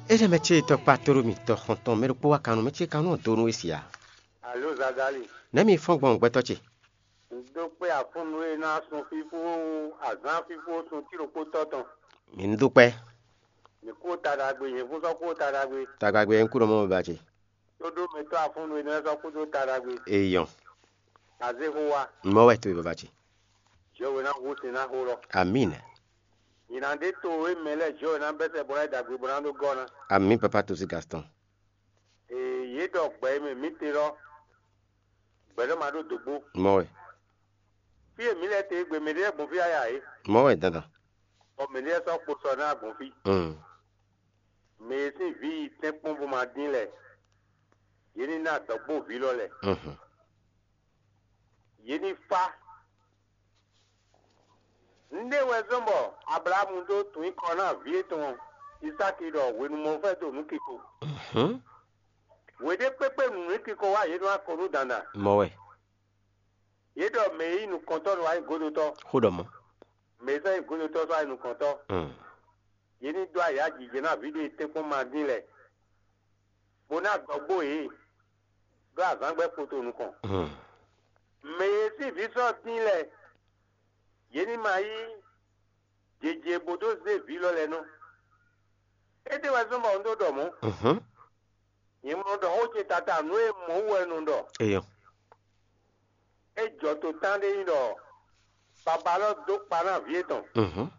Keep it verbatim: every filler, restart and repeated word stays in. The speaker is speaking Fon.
Énɛ́ mɛ ce tɔkpá tóɖó mitɔn xɔntɔn mɛ ɖokpó wá kannú mɛ ce kannú ɔ́ dó nú we sia. Alo Zagali, Nɛ̌ mi fɔ́n gbɔn gbɛtɔ́ ce? Un dó kpé afúnnu e ná sun fífó azǎn fífó sun tí ɖokpó tɔ́ tɔn. Mi ní dó kpɛ́. Mi kú ta ɖagbe, nyɛ fún sɔ́ kú ta ɖagbe. Tagbagbe ɛ ń kú nɔ mɔ ba ce. Tó ɖó mɛ tɔ́ afúnnu e ná sɔ́ kú dó ta ɖagbe. Eyɔn. Azé xó wa, Mɔ wɛ to e baba ce. Jɛ we ná hu sin ná xó lɔ. Amin. Nyina ɖé to e mɛ lɛ́ɛ jɛ we ná bɛ́ sɛ bó ná yi ɖagbe bó ná ɖó gɔ́ ná. Amin papa to sí Gaston. Ee, yě ɖɔ gbɛ e mɛ mǐ te lɔ, gbɛ̌ lɔ ma ɖó dǒgbó. Mɔ wɛ. Fí e mǐ lɛ́ te é gbe mɛ ɖé lɛ́ɛ gbɔn fí yáyá é, Mɔ wɛ dandan. Bɔ mɛ ɖé lɛ́ɛ sɔ́ kpo sɔ ná gbɔn fí. Mm. Mɛ e sín vǐ yi tɛ́nkpɔ́n bó ma dín lɛ, yě ní ná dɔ̌gbó vǐ lɔ lɛ. Mhm. Yě ní fá. Nɖé wɛ zɔ́n bɔ Ablaxámu dó tunwun kɔ ná vǐ étɔn Isáki ɖɔ hwenu mɔfɛ́ do nǔ kiko. Mhm. Hwe ɖé kpékpé nǔ nú kiko wá yě nú akɔnúdandan. Mɔ wɛ. Yě ɖɔ mɛ e nyí nukɔntɔ́ nɔ wá nyí godotɔ́. Xó ɖɔ mɔ. Mɛ e sɔ́ nyí godotɔ́ sɔ́ wá nyí nukɔntɔ́. Mm. Yě ní dó ayǎ jijɛ ná vǐ ɖé tɛ́nkpɔ́n ma dín lɛ, bó ná dɔgbó yě, ɖó azǎn gbɛ́ kpoto nukɔn. Mm. Mɛ e sín vǐ sɔ́ dín lɛ, yě ní ma yí jeje bó dó zé vǐ lɔ lɛ́ɛ nɔ. Étɛ́ wɛ zɔ́n bɔ un ɖó ɖɔ mɔ̌? Mhm. Nyɛ mɔ ɖɔ xó ce tata nǔ e mɔ̌ wú wɛ un nɔ ɖɔ. Eyɔn. É jɔ to tán ɖé nyí ɖɔ baba lɔ dó kpa ná vǐ étɔn. Mhm.